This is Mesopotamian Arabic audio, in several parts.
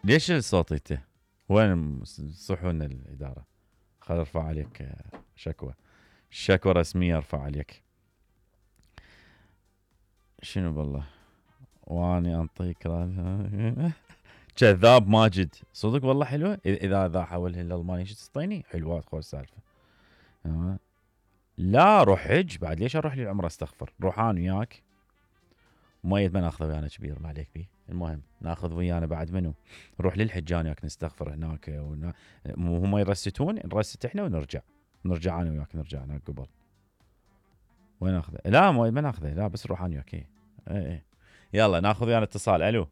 ليش الصوت انت؟ وين صحون الاداره؟ خل ارفع عليك شكوى رسميه ارفع عليك. شنو بالله واني انطيك كذاب ماجد صدق والله حلوه. اذا حولها للالماني شو تسطيني؟ حلوات خوش سالفه. لا روح حج بعد، ليش اروح للعمره استغفر؟ روح انا وياك ميت ما ناخذه ويانا كبير ما عليك بيه. المهم ناخذ ويانا بعد منو؟ نروح للحج انا وياك نستغفر هناك هم يرستون نرست احنا ونرجع انا وياك نرجع هناك قبل. وين ناخذه؟ لا ما ناخذه، لا بس روح انا وياك. ايه يلا ناخذ ويانا اتصال. الو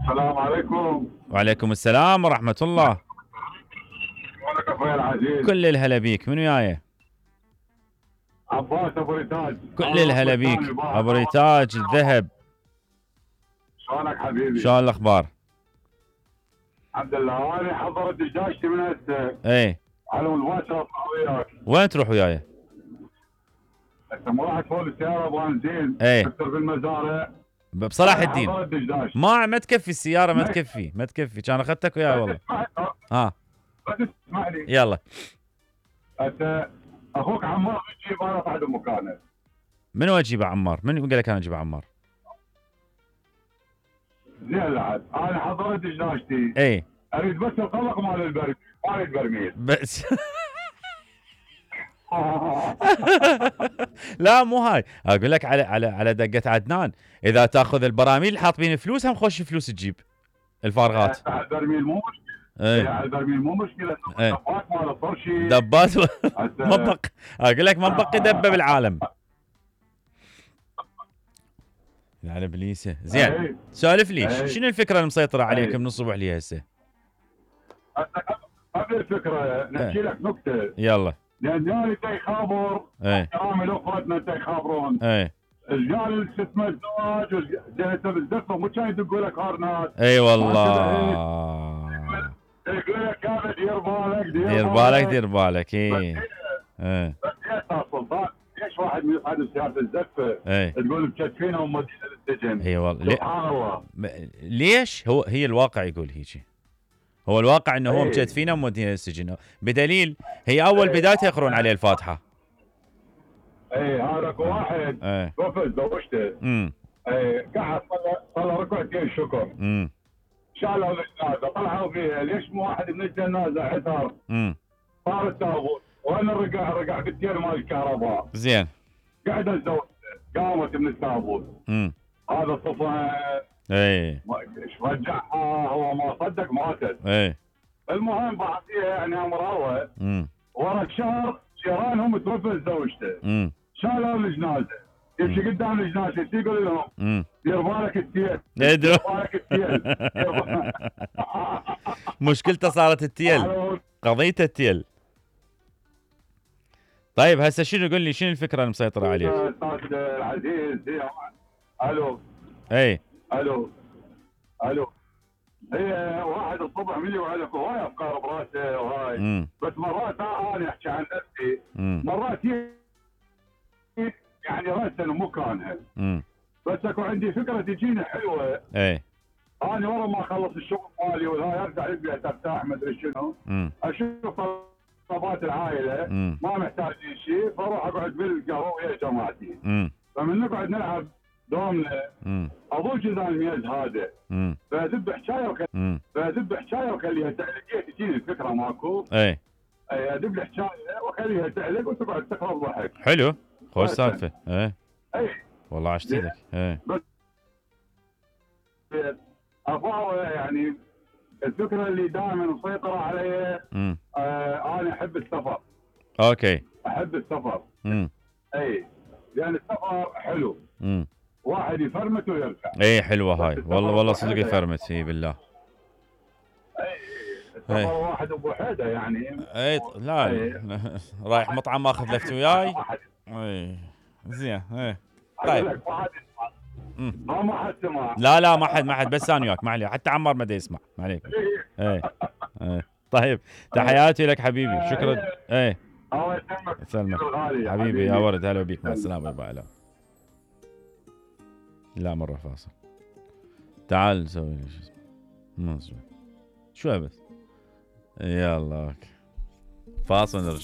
السلام عليكم. وعليكم السلام ورحمه الله. وعليك اخوي العزيز. كل الهلا بيك. منو وياي؟ عباس ابو ريتاج. كل الهلا بيك ابو ريتاج الذهب. شلونك حبيبي؟ شلون الاخبار؟ الحمد لله. انا حضرت دجاجتي من هسه. ايه على المباشره اطلع وياك. وين تروح وياي؟ هسه ما راح فوق السياره بنزين. ايه اكثر بالمزارع بصلاح الدين. ما تكفي السياره، ما تكفي كان اخذتك وياي والله. بس اسمع لي. يلا. هسه اخوك عمار بيجيب انا بعد مكانه. منو اجيبه عمار؟ من قال لك انا اجيب عمار؟ زين لعب انا حضرت دجاجتي. ايه اريد بس القلق مال البرميل، ما اريد برميل بس. لا مو هاي، اقول لك على دقه عدنان، اذا تاخذ البراميل حاط بين فلوس هم خوش فلوس تجيب الفارغات. البرميل مو مشكله. ايه البرميل مو مشكله. ايه. دبات مال الطرشي. دبات منبق. اقول لك منبق دبه بالعالم. يعني ابليسه. زين سولف لي شنو الفكره المسيطره عليك من الصبح لي هسه؟ قبل الفكره نحكي لك نكته. يلا. لان انا يخابر كرامي لاخوتنا يخابرون. الرجال اسمه الزواج وجلسه بالزفه مو كان يدقوا لك هارنات. اي والله. يقول لك هذا دير بالك. اي. بس يا سلطان ليش واحد من يصعد بسياره الزفه تقول مكتفينا ومودينا للسجن؟ اي والله. سبحان الله. ليش؟ هي الواقع يقول هيك. هو الواقع انه هو مكتفينا ومودينا للسجن، بدليل هي اول بدايته يقرون عليه الفاتحه. اي هذاك واحد توفى زوجته. قعد صلى ركعتين شكر. شالوا الجنازه طلعوا فيها، ليش مو واحد من الجنازه عثر؟ صار التابوت وانا رجع بالتير مال الكهرباء. زين. قعدت زوجته قامت من التابوت. هذا صفه. ايش رجعها هو ما صدق ماتت. المهم بعديها يعني امراوه. ورا شهر جيرانهم توفى زوجته. شالوا الجنازه يمشي قدام الجنازه يقول لهم دير بالك التيل. دير بالك التيل. مشكلته صارت التيل، قضيته التيل. طيب هسه شنو قول لي شنو الفكره المسيطره عليك؟ استاذ العزيز. الو. اي الو. هي واحد الصبح من يوعدك وهاي افكار براسه وهاي. بس مرات انا احكي عن نفسي. مرات يعني راسا مكانها. بس اكو عندي فكره تجيني حلوه. انا ورا ما اخلص الشغل مالي ولا ارجع البيت ارتاح ما ادري شنو. اشوف طلبات العائله ما محتاجين شيء، فاروح اقعد بالقهوه ويا جماعتي. فمن نقعد نلعب دومنا ابو جزان الميز هذا. فادب حكايه واخليها تعلق. تجيني الفكره ماكو. ادب لي حكايه واخليها تعلق وتقعد تقرا ضحك. حلو خوش سالفه. والله عشت لك. بس افاوى يعني الفكره اللي دائما مسيطره علي. انا احب السفر. اوكي. احب السفر. لان السفر حلو. واحد يفرمت ويرجع. حلوه هاي والله صدق يفرمت. بالله. السفر واحد ابو حيده يعني. لا رايح مطعم ماخذ لفت وياي. زين. طيب ما حد سمع. لا ما حد بس انا وياك ما عليه، حتى عمار ما يسمع ما عليك. طيب تحياتي لك حبيبي. شكرا. الله يسلمك حبيبي يا ورد. هلا بيك. مع السلامه. باي. لا ما نروح فاصل. تعال نسوي شوي بس. يلا اوكي. فاصل نرجع.